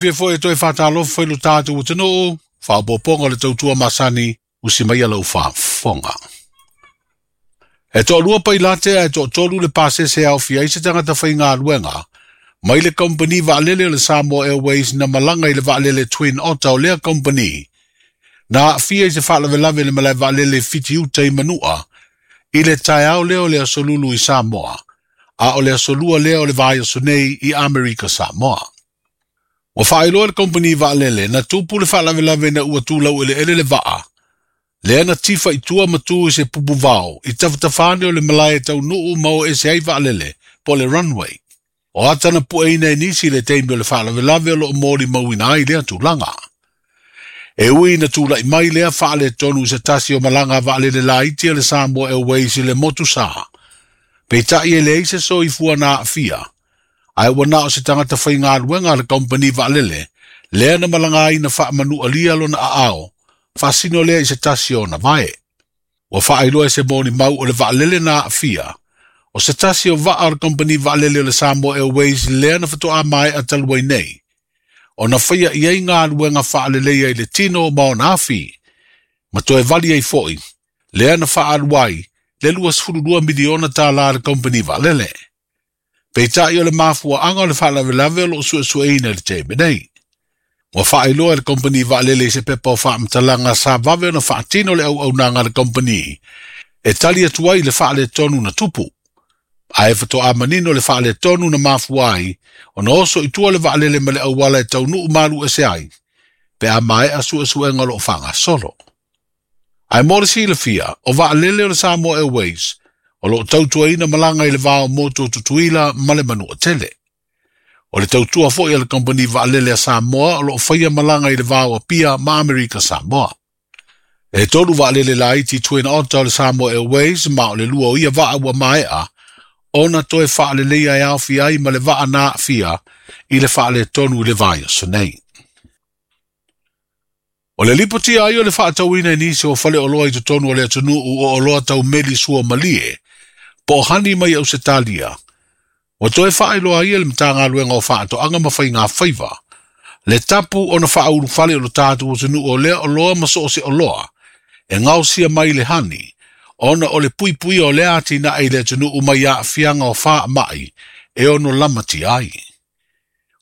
Fia foi e toe faatalofa i lo tatou atunuu, faaopoopoga o le tautua masani, usi maia lau faafofoga. E toalua pailate ae toatolu le pasese e aofia ai se tagata faigaluega mai le kamupani vaalele o le Samoa Airways na malaga i le vaalele Twin Otter o lea kamupani na aafia i se faalavelave i le malae vaalele i Fitiuta i Manua i le taeao lea o le Aso Lulu i Samoa, a o le Aso Lua lea o le vaiaso nei i Amerika Samoa. Ua faailoa e le kamupani vaalele na tupu le faalavelave ina ua tu laueleele le vaa, lea na tifa i tua ma tu i se pupu vao i tafatafa ane o le malae e taunuu ma o ese ai vaalele, po o le runway. O ata na pueina e nisi i le taimi o le faalavelave o lo o molimauina ai lea tulaga. E ui ina tulai mai lea faaletonu i se tasi o malaga a vaalele laiti a le Samoa Airways i le motu sa, peitai e leai se soifua na aafia, ae ua na o se tagata faigaluega a le kamupani vaalele lea na malaga ai na faamanualia lona aao, faasino lea i se tasi o ona vae. Ua faailoa e se molimau o le vaalele na aafia, o se tasi o vaa o le kamupani vaalele o le Samoa Airways lea na faatoa maea talu ai nei, ona faia i ai galuega faaleleia i le tino ma ona afi, ma toe vali ai foi, lea na faaalu ai le $22 miliona tala a le kamupani vaalele. Peitai o le mafuaaga o le faalavelave o lo o suesueina i le taimi nei. Ua faailoa e le kamupani vaalele i se pepa o faamatalaga sa vave ona faatino le auaunaga a le kamupani e tali atu ai i le faaletonu na tupu. Ae faatoa manino le faaletonu na mafua ai ona oso i tua le vaalele ma le auala e taunuu malu ese ai, pe a maea suesuega o lo o faagasolo. Ae mo le silafia, o vaalele o le Samoa Airways o lo o tautuaina malaga i le va o motu o Tutuila ma le Manuatele. O le tautua foi a le kamupani vaalele a Samoa o lo o faia malaga i le va o Apia ma Amerika Samoa. E tolu vaalele laiti Twin Otter o le Samoa Airways ma o le lua o ia vaa ua maea ona toe faaleleia e aofia ai ma le vaa na aafia i le faaletonu i le vaiaso nei. O le lipotia ai o le faatauina i nisi o faleoloa i totonu o le atunuu o oloa tau meli sua malie, po o hani mai Ausetalia, ua toe faailoa ai e le Matagaluega o Faatoaga ma Faiga Faiva le tapu ona faaulufale o lo tatou atunuu o lea oloa ma so o se oloa e gaosia mai le hani, ona o le puipuia o lea atinae i le atunuu mai aafiaga o faamai e ono lamatia ai.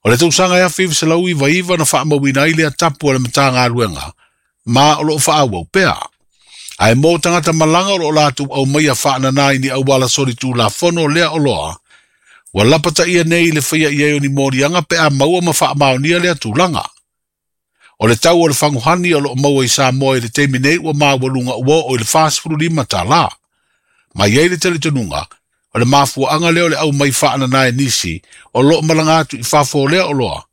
O le tausaga e 1999 na faamauina ai lea tapu a le Matagaluega, ma o lo o faaauau pea. Ae mo tagata malaga o lo o latou aumaia faanana i ni auala solitulafono lea oloa, ua lapataia nei i le faia i ai o ni moliaga pe a maua ma faamaonia lea tulaga. O le tau o le faguhani o lo o maua i Samoa i le taimi nei ua maualuga ua oo i le $45. Ma i ai le talitonuga, o le mafuaaga lea o le aumai faanana e nisi o lo o malaga atu i fafo o lea oloa,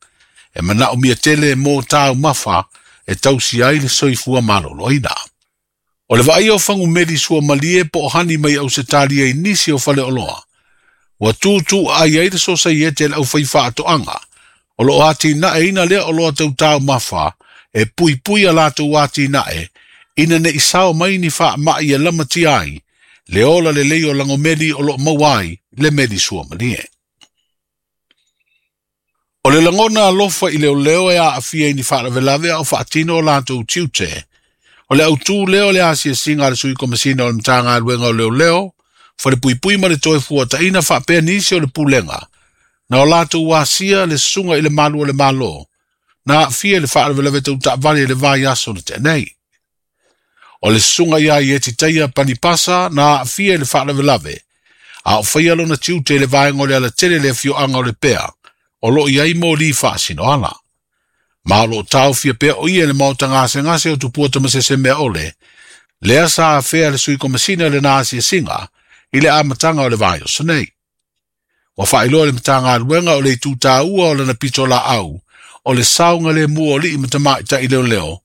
e manaomia tele mo taumafa e tausia ai le soifua maloloina. O le vaaia o fagumeli sua malie po o hani mai Ausetalia i nisi o faleoloa, ua tutuaai ai le sosaiete a le aufaifaatoaga o lo o atinaeina lea oloa tau taumafa e puipui a latou atinae ina ne i sao mai ni faamai e lamatia ai le ola lelei o lagomeli o lo o maua ai le meli sua malie. O le lagona alofa i leoleo e aafia i ni faalavelave a o faatino o latou tiute, o le autū lea o le asiasiga a le Sui Komesina o le Matagaluega o Leoleo, Falepuipui ma le Toefuataiga faapea nisi o le Pulega, na o latou asia le susuga i le malu o le Malo, na aafia i le faalavelave tau taavale i le vaiaso na tea nei. O le susuga ia Ietitaia Panipasa na aafia i le faalavelave, a o faia lona tiute i le vaega o le alatele i le afioaga o Lepea, o lo o i ai moli faasinoala. Ma o lo o taofia pea o ia i le maota gasegase o Tupua Tamasesemeaole, lea sa afea le Sui Komesina i lana asiasiga i le amataga o le vaiaso nei. Ua faailoa e le Matagaluega o le itu taua o lana pitolaau o le saogalemu o alii ma tamaitai leoleo,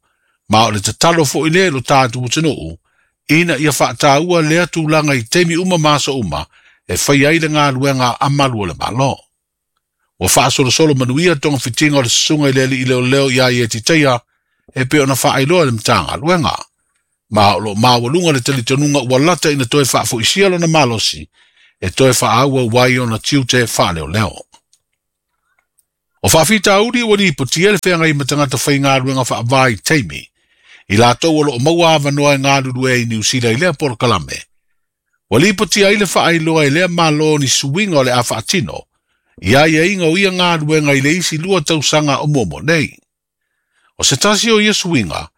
ma o le tatalo foi lea i lo tatou atunuu ina ia faataua lea tulaga i taimi uma ma aso uma e faia ai le galuega a malu o le Malo. Ua faasolosolo manuia togafitiga o le susuga i le alii leoleo ia Ietitaia e pei ona faailoa e le Matagaluega. Ma o lo o maualuga le talitonuga ua lata ina toe faafoisia lona malosi e toe faaauau ai ona tiute faaleoleo. O faafitauli ua lipotia le feagai ma tagata faigaluega faavaitaimi, i latou o loo maua avanoa e galulue ai i Niu Sila i lea polokalame. Ua lipotia ai le faailoa e lea Malo ni suiga o le a faatino, i aiaiga o ia galuega i le isi 2 tausaga o muamua nei. O se tasi o ia suiga,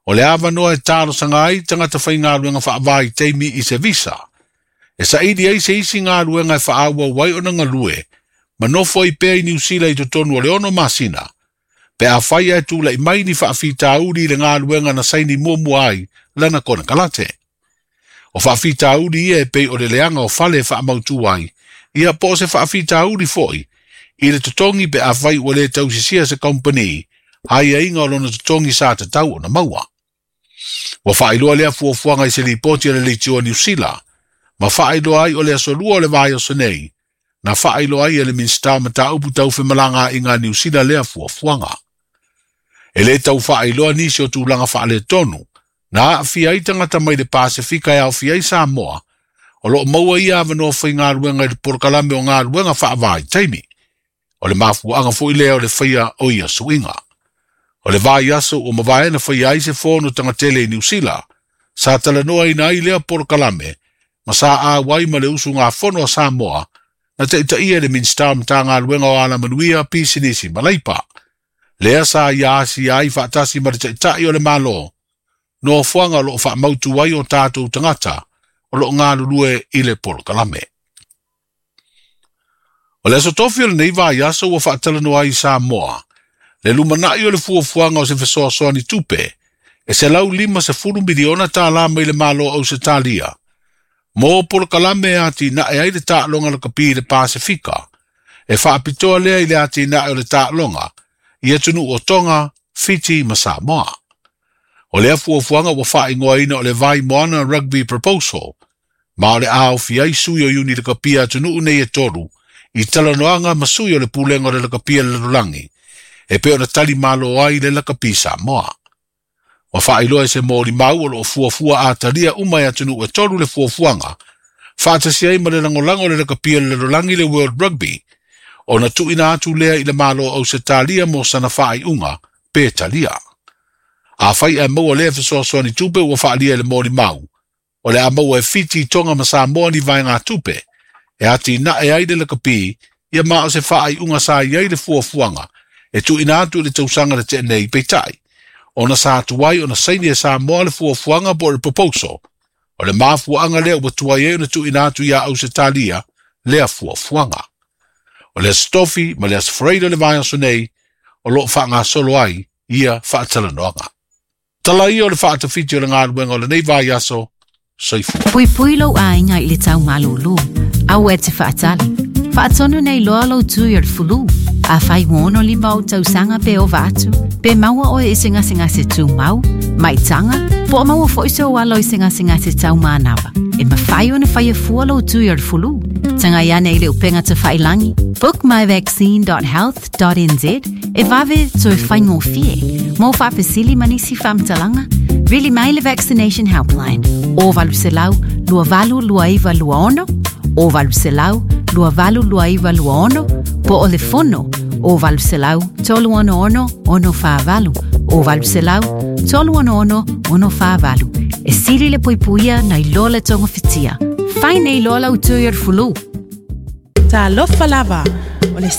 o le avanoa e talosaga ai tagata faigaluega faavaitaimi i se visa, e saili ai se isi galuega e faaauau ai ona galue, ma nofo ai pea i Niu Sila i totonu o le 6 masina, pe afai ae tula'i mai ni faafitauli i le galuega na saini muamua ai lana konekarate. O faafitauli ia e pei o le leaga o fale e faamautu ai, ia po o se faafitauli fo'i i le totogi pe afai ua lē tausisia se kamupani aiaiga o lona totogi sa tatau ona maua. Ua faailoa lea fuafuaga i se lipoti a le Leitio a Niu Sila, ma faailoa ai o le aso 2 o le vaiaso nei, na faailoa ai e le Minisita o Mataupu Tau Femalagaaiga a Niu Sila lea fuafuaga. E lē tau faailoa nisi o tulaga faaletonu, na aafia ai tagata mai le Pasefika e aofia ai Samoa, o loo maua ia avanoa faigaluega i le polokalame o galuega faavaitaimi. O le mafuaaga fo'i lea o le faia o ia suiga. O le vaiaso ua mavae na faia ai se fono tagatele i Niu Sila, sa talanoaina ai lea polokalame, ma sa auai ma le usugafono a Samoa, na taitaia e le Minisita o Matagaluega o Alamanuia, Pisinisi ma Leipa. Lea sa ia asia ai faatasi ma le taita'i o le Malo, nofoaga o loo faamautu ai o tatou tagata o loo galulue i le polokalame. O le aso tofi o lenei vaiaso ua faatalanoa ai i Samoa, le lumana'i o le fuafuaga o se fesoasoani tupe, e $150 miliona tālā mai le Malo o Ausetalia, mo polokalame e atinae ai le taaloga lakapi i le Pasefika, e faapitoa lea i le atinae o le taaloga, i atunuu o Tonga, Fiti ma Samoa. O lea fuafuaga ua faaigoaina o le Vaimoana Rugby Proposal, ma o le a aofia ai sui o iuni lakapi a atunuu nei e 3, i talanoaga ma sui o le pulega o le lakapi a le lalolagi, e pei ona tali malo ai le lakapi Samoa. Ua faailoa e se molimau o loo fuafua atalia uma e atunuu e 3 le fuafuaga, faatasi ai ma le lagolago o le lakapi a le lalolagi le World Rugby, ona tuuina atu lea i le Malo o Ausetalia mo sana faaiuga pe talia. Afai ae maua lea fesoasoani tupe ua faalia i le molimau, o le a maua e Fiti, Tonga ma Samoa ni vaegatupe, e atinae ai le lakapi, ia ma o se faaiuga sa i ai le fuafuaga, e tuuina atu i le tausaga na tea nei peitai, ona sa tuai ona saini e Samoa le fuafuaga po o le proposal, o le mafuaaga lea ua tuai ai ona tuuina atu iā Ausetalia lea fuafuaga. O le aso Tofi ma le aso Faraile o le vaiaso nei, o loo faagasolo ai ia faatalanoaga. Tala ia o le faatafiti o le galuega o lenei vaiaso, soifua. Puipui lou aiga i le tau malūlū. Aua e te faatali. Faatonu nei loa lou tui o le fulu. Afai ua 65 ou tausaga pe ova atu, pe maua oe i se gasegase tumau, maitaga, po o maua fo'i sou alo i se gasegase taumanava. E mafai ona faia fua lou tui o le fulu. Tagai ane i le upega tafailagi bookmyvaccine.health.nz e vave toe faigofie. Mo faafesili ma nisi faamatalaga, vili mai le Vaccination Helpline o 800 2829 26 o 800 2829 26 po o le fono o 800 366 648 o 800 366 648. E sili le puipuia nai lo le togafitia. Fai nei loa lau tui o le fulu. Talofa lava. O le